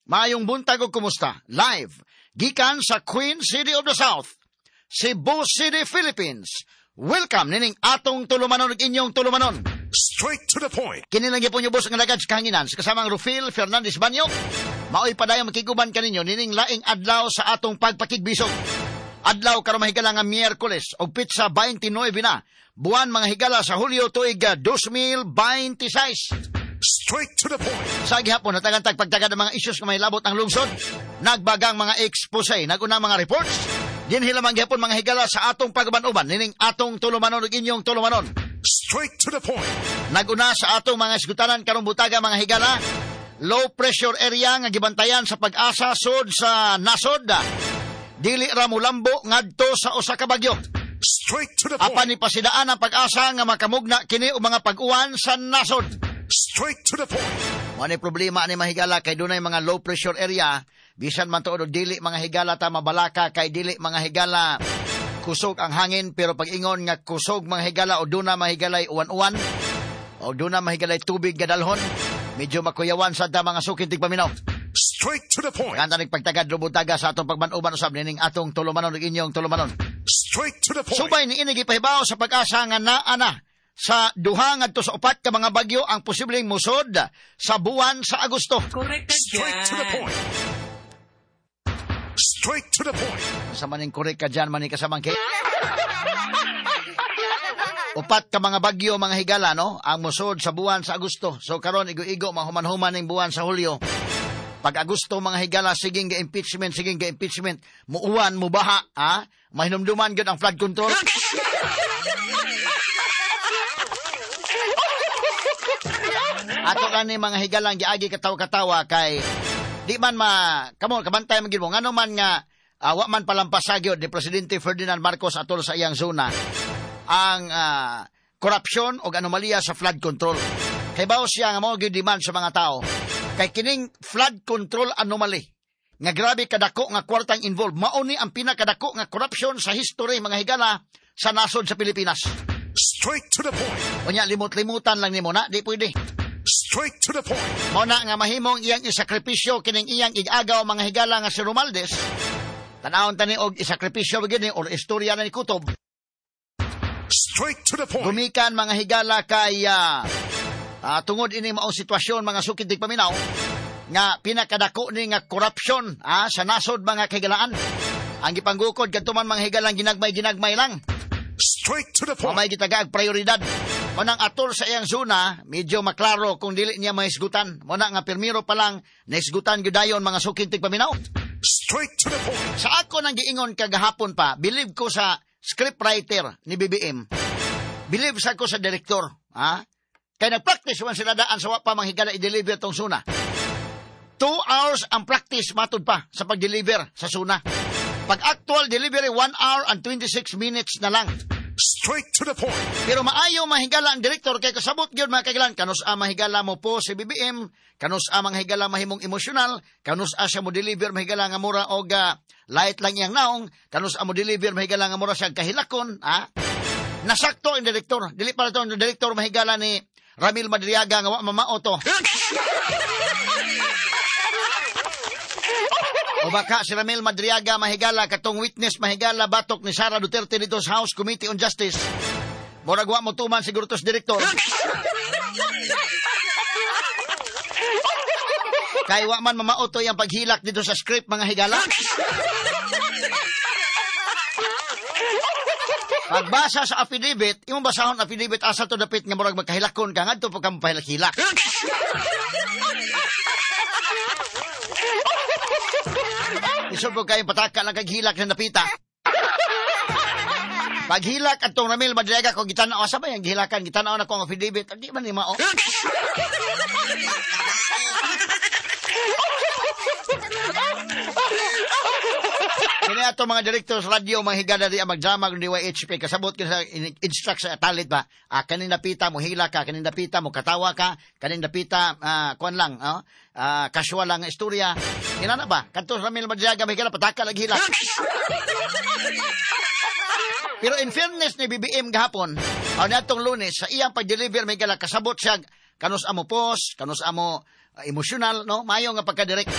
Maayong buntag ug kumusta? Live gikan sa Queen City of the South, Cebu City, Philippines. Welcome nining atong tulumanon ug inyong tulumanon. Straight to the point. Kini lang gyapon ubos nga lagad sa kahanginan sa kasamang Rufil Fernandez Banyo. Maoy padayon makiguban kaninyo nining laing adlaw sa atong pagpakigbisog. Adlaw karon, mahigala, nga Miyerkules og petsa 29 na buwan, mga higala, sa Hulyo, tuig 2026. Straight to the point. Sa gihapon, natagan tag pagtagad ng mga isyus nga mahilabot ang lungsod. Nagbagang mga expose, naguna mga reports. Dinhi lamang gihapon, mga higala, sa atong pag-uban-uban nining atong tulumanon ug inyong tulumanon. Straight to the point. Naguna sa atong mga isgutanan karong butaga, mga higala, low pressure area nga gibantayan sa Pag-asa sud sa nasod. Dili ra mulambo ngadto sa usa ka bagyo. Straight to the Apan point. ni pasidaan ang Pag-asa nga makamugna kini og mga pag-uwan sa nasod. Straight to the point. Mo ni problema ni, mahigala, kay dunay mga low pressure area, bisan man tuod og dili, mga higala, ta mabalaka kay dili, mga higala, kusog ang hangin, pero pag ingon nga kusog, mga higala, o duna, mahigalay, uwan-uwan o duna, mahigalay, tubig gadalhon, medyo makuyawan sa ta, mga sukin tigpaminaw. Straight to the point. Kanta ning pagtagad rubutaga sa atong pagmanuban usab nining atong tulumanon ug inyong tulumanon. Straight to the point. Subay ni ini, gipahibaw sa Pag-asa nga naa na sa 2 ngadto sa 4 ka mga bagyo ang posibleng musod sa buwan sa Agosto. Correct ka Straight to the dyan. Point. Straight to the point. Sa maning korek ka dyan, maning kasamang kay. 4 ka mga bagyo, mga higala, no? Ang musod sa buwan sa Agosto. So karon igo-igo, mahuman-human ning buwan sa Hulyo. Pag Agosto, mga higala, sige ga impeachment, sige ga impeachment, muuwan, mubaha, ha? Mahinumduman gyud ang flood control. Ato kani, mga higalang, giagi katawa-katawa kay di man ma kamo kabantay man gyud mo ngano man nga wa man palampasa gyud ni Presidente Ferdinand Marcos atol sa iyang zona ang korupsyon o anomalya sa flood control. Kay bawo siya nga mao gyud demand sa mga tao. Kay kining flood control anomaly nga grabe kadako nga kwartang involved, mao ni ang pinakadako nga corruption sa history, mga higala, sa nasod sa Pilipinas. Straight to the point. Unya limot-limutan lang nimo na, di pwede. Straight to the point. Mao na nga mahimong iyang isakripisyo kining iyang igagaw, mga higala, nga si Romualdez. Tanawon tani og isakripisyo ba gyud ni or istorya na ni Kutob. Straight to the point. Gumikan, mga higala, kay tungod ini maong sitwasyon, mga sukid paminaw, nga pinakadako ni nga korupsyon sa nasod, mga kahigalaan. Ang gipanggukod kadto man, mga higalang, ginagmay-ginagmay lang. Straight to the point. Mamay gitagaag prioridad. Manang atol sa iyang zona, medyo maklaro kung dili niya mahisgutan. Muna nga pirmiro pa lang, nahisgutan gyud dayon, mga sukin tigpaminaw. Straight to the point. Sa ako nang giingon kagahapon pa, believe ko sa scriptwriter ni BBM. Believe sa ko sa direktor. Ha? Kay nag-practice man sila daan sa wa pa manghigala i-deliver tong SONA. 2 hours ang practice matud pa sa pag-deliver sa SONA. Pag actual delivery, 1 hour and 26 minutes na lang. Straight to the point. Pero maayo mahigala ang direktor kay kasabot gyud, mga kagilan, kanus a mahigala mo po si BBM, kanus a mga higala mahimong emosyonal, kanus a siya mo deliver, mahigala, nga mura og light lang iyang naong, kanus a mo deliver, mahigala, nga mura siya kahilakon, ha? Nasakto ang direktor. Dili para to ang direktor, mahigala, ni Ramil Madriaga nga wa mamao to. O baka si Ramil Madriaga, mahigala, katong witness, mahigala, batok ni Sara Duterte dito sa House Committee on Justice. Murag wa mo tuman siguro to sa direktor. Kay wa man mamauto yang paghilak dito sa script, mga higala. Pagbasa sa affidavit, imong basahon affidavit asa to dapit nga murag magkahilakon ka ngadto pa ka mapahilak-hilak. Isod po kayo pataka lang kag hilak sa napita. Paghilak atong Ramil Madriaga ko gitanaw asa ba yang gihilakan, gitanaw na ko ang affidavit. Di man ni mao. Kini ato mga direktor sa radyo, mga higala di ang magdrama ng DYHP, kasabot kini sa instruct sa talit ba, kanin napita mo hila ka, kanin napita mo katawa ka, kanin napita kuan lang, oh, casual lang ang istorya. Inana ba kadto sa Ramil Madriaga, mahigala, pataka lagi hila. Pero in fairness ni BBM gahapon o natong Lunes sa iyang pag-deliver, mahigala, kasabot siya kanus amo post, kanus amo emosyonal, no, maayo nga pagka-direct.